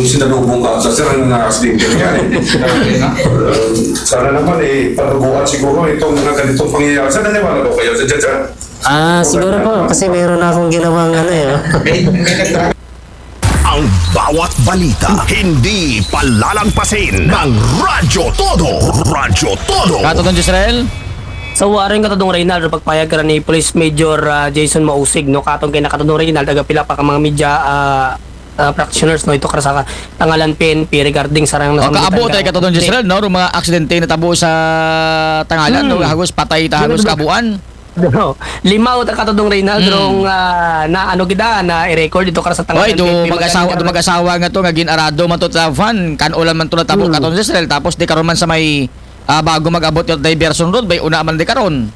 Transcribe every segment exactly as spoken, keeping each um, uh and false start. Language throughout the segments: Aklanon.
Sinalubong ka sa sir na nakasidente na yan eh. Sana naman eh, patuguan siguro itong mga ganitong pangyayari. Sana niwala ko kayo sa dyan, sir. Ah, siguro po, kasi meron na akong ginawang ano eh. Oh. Ang bawat balita, hindi palalagpasin ng Radyo Todo. Radyo Todo. Katodong Jezreel? Sa waring katodong Reynald, pagpayag ka ni Police Major uh, Jason Mausig, no, katong kay nakatodong Reynald, aga pila pa ka mga media uh, uh, practitioners, no, ito ka sa tangalan P N P regarding sa rang O kaabo tayo katodong Jezreel, no, mga aksidente na tabo sa tangalan, hmm. No, hagos patay ta hagos kabuan. No. Lima o katodong Reynald, hmm. Rong uh, na ano gida na i-record ito ka sa tangalan. Oy, do mag-asawa, do mag-asawa nga to nga ginarado man to sa van, kan-o lang man to natabo hmm. Katodong Jezreel, tapos di karon man sa may uh, bago mag-abot yung diversion road, bay una man di karon.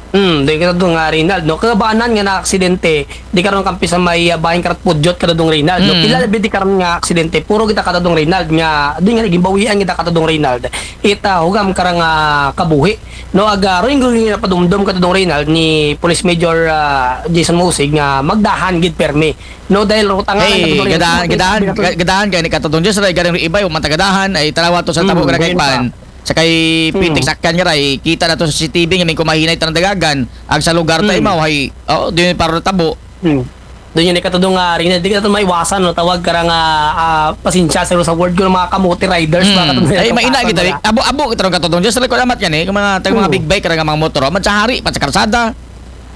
Hmm, di ka nga Reynald, no? Kabaanan nga na aksidente, di karon kampi sa may uh, bahin karat pudyot ka dong Reynald, no? Hmm. Pila labi di karon nga aksidente, puro kita ka dong Reynald nga di nga gimbawian kita ka dong Reynald. Ita hugam karang uh, kabuhi, no? Aga ring ring na padumdum ka dong Reynald ni Police Major uh, Jason Musig nga magdahan gid permi, no? Dahil rutangan hey, gadahan gadahan gadahan kay ni katong Diyos ray garing iba yung matagadahan ay tarawa to sa tabo hmm, kay pan. Sa kay pitik sakyan nga ray, kita na to sa C C T V nga may kumahinay tanang dagagan, ag sa lugar tayo mao hay, oh, di para tabo. Hmm. Doon yun ikatudong nga rin, di ka maiwasan no tawag ka nga uh, pasensya sa sa word ko ng mga kamote riders mm. Mga katong ay maina kita abo abo kita ng katudong Diyos salamat yan eh kung mga tag mga mm. Big bike ka mga motor man sa hari pa sa karsada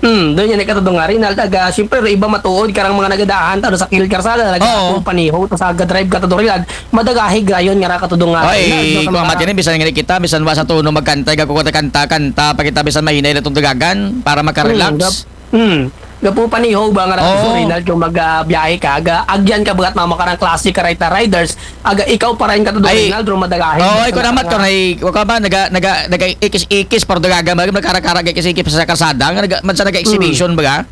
Hmm, doon yan ikatudong nga Rinald. Aga, siyempre, iba matuod karang mga nagadahan, tano sa kilid karsada, nag-aapong paniho, tas aga-drive ka tudong Rinald. Madagahig rayon nga ra katudong nga Rinald. Ay, kung matini, bisan nga kita, bisan wa sa tuno magkantay, gaku kanta, kanta, kanta, pa kita bisan mahinay na itong dagagan para makarelax. Hmm, hmm. Gapu paniho ba nga ra oh. Rinald kung magbiyahe ka, aga, agyan ka bagat mama karang klase ka riders, aga ikaw pa rin katudong Rinald, ro madagahig. Oh, ay, kung amat ko, ay, kung ba, naga, naga, naga, ikis-ikis, pero dagagan, magkara-kara, ikis-ikis sa karsada, nga naga, man sa naga-exhibition, hmm. Baga?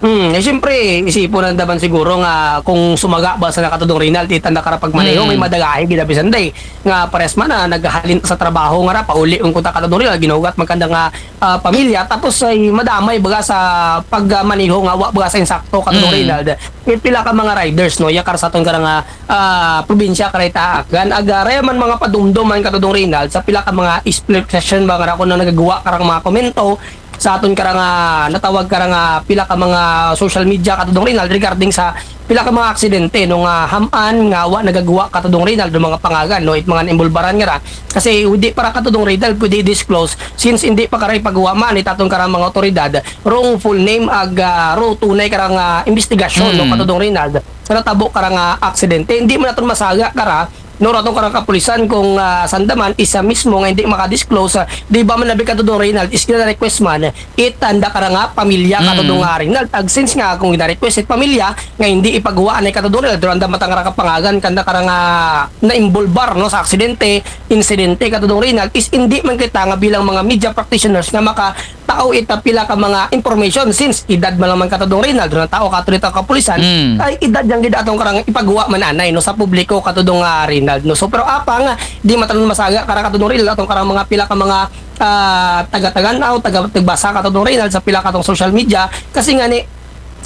Hmm, eh, siyempre, isipon ang daman siguro nga kung sumaga ba sa nakatudong Rinald, itanda ka pag maneho, hmm. May madagahe, ginabisan day. Nga pares man na naghalin sa trabaho nga ra, pauli ang kunta katudong Rinald, ginugat magkanda nga uh, pamilya, tapos ay madamay baga sa pagmaneho nga wa baga sa insakto katudong hmm. Rinald. Yung pila ka mga riders, no, yakar sa itong karang uh, probinsya karayta, gan agara man mga padumdom man katudong Rinald, sa pila ka mga split session ba nga ra kung nagagawa karang mga komento, sa aton karang uh, natawag karang uh, pila ka mga social media katudong Rinald regarding sa pila ka mga aksidente nung uh, haman nga wa nagagawa katudong Rinald ng mga pangagan no it mga involbaran nga ra kasi hindi para katudong Rinald pwede disclose since hindi pa karay pagawa man it aton karang mga otoridad rong full name ag uh, ro tunay karang uh, investigasyon hmm. No katudong Rinald sa natabo karang uh, aksidente hindi man naton masaga kara no ratong karang kapulisan kung uh, sandaman isa mismo nga hindi makadisclose uh, di ba man nabi katudong Rinald is gina-request man itanda karang uh, pamilya mm. Katudong uh, Rinald ag since nga kung gina-request it pamilya nga hindi ipagawa anay katudong Rinald duranda matang karang kapangagan kanda karang uh, na-involbar no sa aksidente insidente katudong Rinald is hindi man kita nga bilang mga media practitioners nga maka tao ita pila ka mga information since edad man lang man katudong Rinald na tao kato dito kapulisan mm. Ay edad yang gid atong karang ipagawa man anay no sa publiko katudong uh, Rinald no so pero apang di matanon masaga kara katudong Rinald atong karang mga pila ka mga uh, taga-taganaw taga-tagbasa katudong Rinald sa pila katong social media kasi nga ni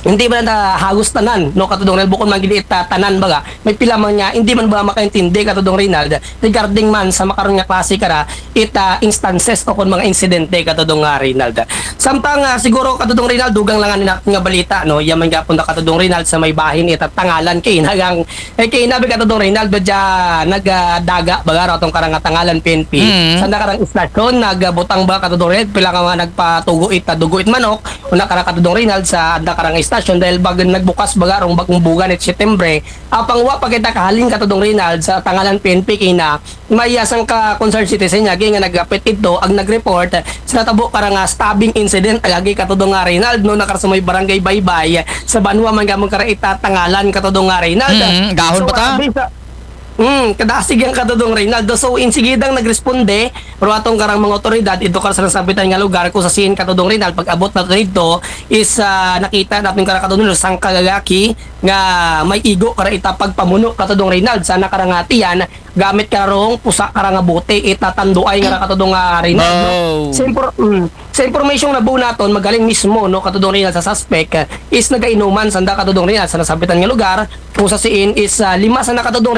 hindi man na hagos tanan no katudong Rinald bukon man gid ita tanan baga may pila man nga hindi man ba makaintindi katudong Rinald regarding man sa makaron nga klase kara ita instances o kon mga insidente katudong nga Rinald. Samtang uh, siguro katudong Rinald dugang lang nga nga balita no. Yaman gapon na katudong Rinald sa may bahin ita tangalan kay nagang eh, kay nabi katudong Rinald badya nagdaga uh, baga ratong karang tangalan P N P. Mm. Sa nakarang istasyon nagbutang uh, ba katudong Rinald pila nga mga nagpatugo ita dugo it manok una karang katudong Rinald sa nakarang istasyon dahil bag nagbukas baga rong bagong bugan it Setyembre Apang wa pa kita kahalin katudong Rinald sa tangalan P N P kina may asang ka concerned citizen niya nga nagapit ito ag nag-report sa natabo karang uh, stabbing incident agagi katudong nga Rinald no nakar sa may barangay Baybay sa banwa man gamon kara ita tangalan katudong nga Rinald. Mm, gahon so, pa ta. Sa, mm, kadasig ang katudong Rinaldo. So, insigidang nagresponde pero atong karang mga otoridad ito kar sa nasabitan nga lugar kung sa siin katudong Rinald pag-abot na dito is uh, nakita natin karang katudong Rinald sang kagagaki nga may igo kara ita pagpamuno katudong Rinald sa nakarangatian gamit karong pusa karang bote ita tanduay nga katudong uh, Rinald. Oh. Sa, impor- mm, sa information na buo naton magaling mismo no katudong Rinald sa suspect uh, is nagainuman sanda katudong Rinald sa nasabitan nga lugar kung sa siin is uh, lima sa nakatudong